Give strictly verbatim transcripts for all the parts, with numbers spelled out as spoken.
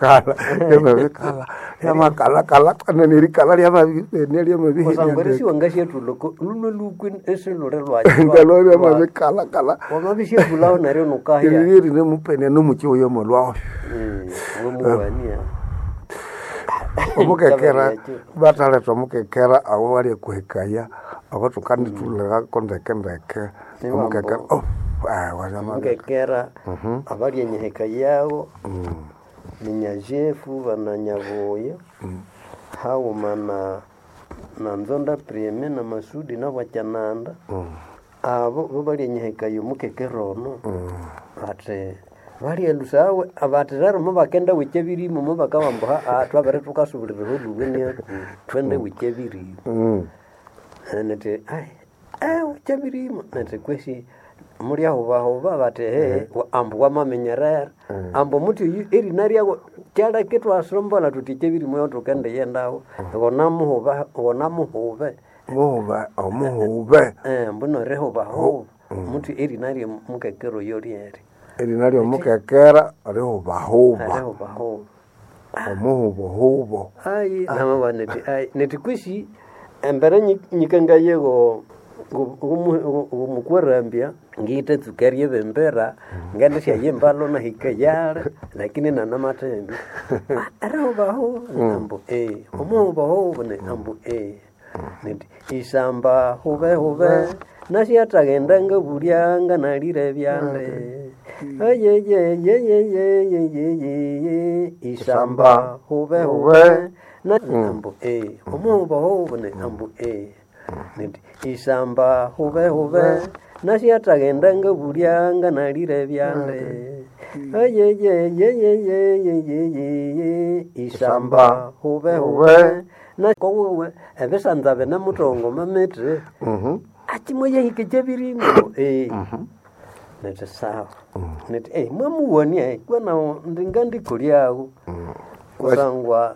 lyamabikala lyamabikala lyamakalakala kwenene erikala lyamabibenia kusangwa lyamabihenia erisiwa ngashyatuloko luno lukwi esilule ngalo lwayo lyamabikalakala wamabishyatulaho neryo nukahya eriri nemupenia nomuki oyo molwayo wemuwania omukekera bataleta omukekera abo balya kuhekaya abo tukanditulirako ndeke ndeke omukekera oh, eh, wazama- mukekera abalya enyiheka yawo ninyajefu bananyabuya haghuma na na nzonda prime na masudi nabwakyananda abo bo balya enyiheka yomukekera ono bati balya lusawe bati rero mubakenda wikya birimo mubakawambuha "Ah, twabere tukasubuliraho luwe niaku twende wikya birimo Mm. nti ai eh uchabirimo nti kwesi mulyahubahuba bati he ambu wamamenyerera ambu muti oyu erina ryawo kyaleke twasombola tuti kyebirimo yo tukende yendawo wonamuhuba wonamuhube muhuba omuhube eh mbuno rihubahuba muti erina rye mukekero yo ryeri erina lyomukekera rihubahuba rihubahuba omuhubohubo ai namawa nti ai nti kwesi embere nyi- nyikangaye go gumukwarambya ngite tsuka ryebembera ngende syayimbalo nahika yale lakini nanamathembe arihubahuba ambu e omuhubahuba ne ambu e nti isamba hube hube nasyathagenda ngabulyanga nalire byande ayeyeyeyeyeyeye isamba hube hube na ambu e omuhubahuba ne ambu e nti isamba hube hube nasyathagenda ngabulyanga nalire byande ayeyeyeyeyeyeye isamba hube hube na kowewe ebisanza bine mutongo mamiti Mhm. achimwe yahike kyebirimo eh nti sawa nti eh mwamuwonia kwena ndinga ndikulyawo kusangwa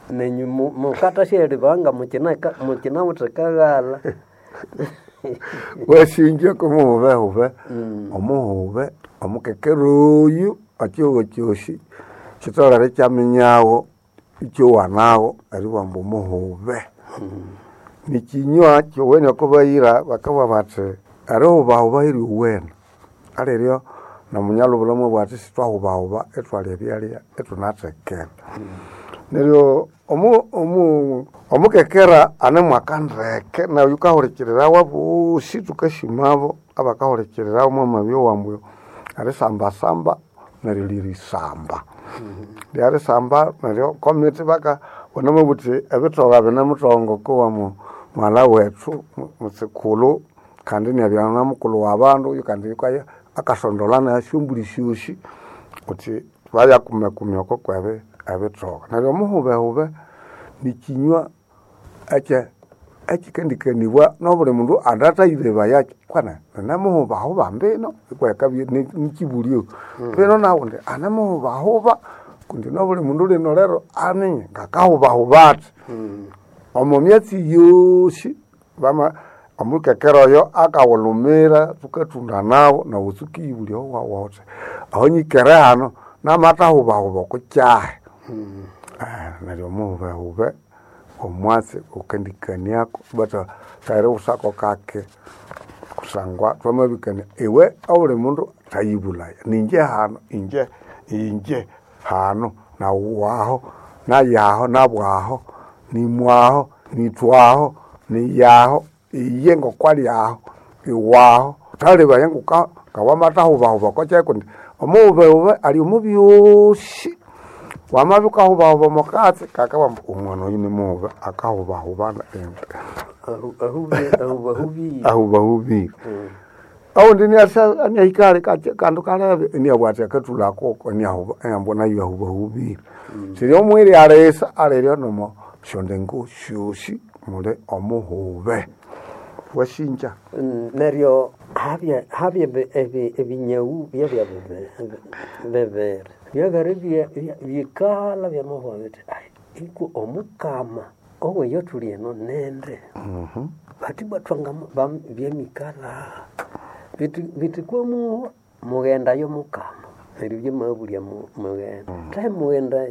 nenyu mu- mukata syeribanga mukina mukinawuthe kaghala wasinja kumuhubehube omuhube omukekera oyu ekihugho kyosi kitolere kyaminyawo ikyowanawo eribwamba omuhube nikinywa kyowene okubayira bakabugha bathi erihubahuba eryowene aliryo nomunyalubula mwabugha athi sithwahubahuba ithwalya ebyalya ithunathekera neryo omu- omu- omukekera anemwaka ndeke nayo yukahurikirirawa bosi tukasimabo abakahurikirirawa mwamabya owambu erisambasamba neryo lirisamba lyarisamba neryo komiti baka bonamubuthi ebithoga bine muthongo kowa mu- mwala wethu mu- mutsikulhu kandi niabya na mukulhu wa bandu oyu kandi yukaya akasondola nasyombuli syosi kuthi bayakumekumya oko kwebi ebithoga neryo omuhubehube nikinywa ekye ekikendikanibwa nobuli mundu andatayilebaya kwana nemuhubahuba mbino ikwekabya nikibulyo mbino nawundi anemuhubahuba kundi nobuli mundu lino lero aminye ngakahubahuba athi omo myatsi yosi bama omukekera oyo akawulumira thukatunda nawo nawu tsukiyibulya owawa wuthi aho nyikere hano namathahubahuba okukyahi Ah, neryo omuhubehube omwatsi wukendikaniako bata thayiriwusako kake kusangwa twamabikania iwe obuli mundu thayibulaya ninje hano inje inje hano nawu waho nayaho nabwaho nimwaho nithwaho niyaho iye ngokwalyaho iwaho thalibaya nguka ngawamathahubahuba kwakyahi kundi omuhubehube ali omu byosi wamabya ukahubahuba omukatsi kakabamba omwana oyu nimuhuba akahubahubana indi ahubahubire ahubahubire aundi niahikale kandu kalebe iniabwa ati akathulako iniahuba nayo ahubahubire siri omwiri alisa aliryo nomo syondengo syosi muli omuhube wasinja Mm, neryo habya habya ebi- ebi- ebinyau byabya bibe- bibiri byabere bye- bye- bikala byamabugha bithi "Ai, iku omukama oweyo thuli eno nende bati bwathwanga byemikala bithi bithi kwemuwa mughendayo mukama neryo byamabulya mu- mughenda thahe mughenda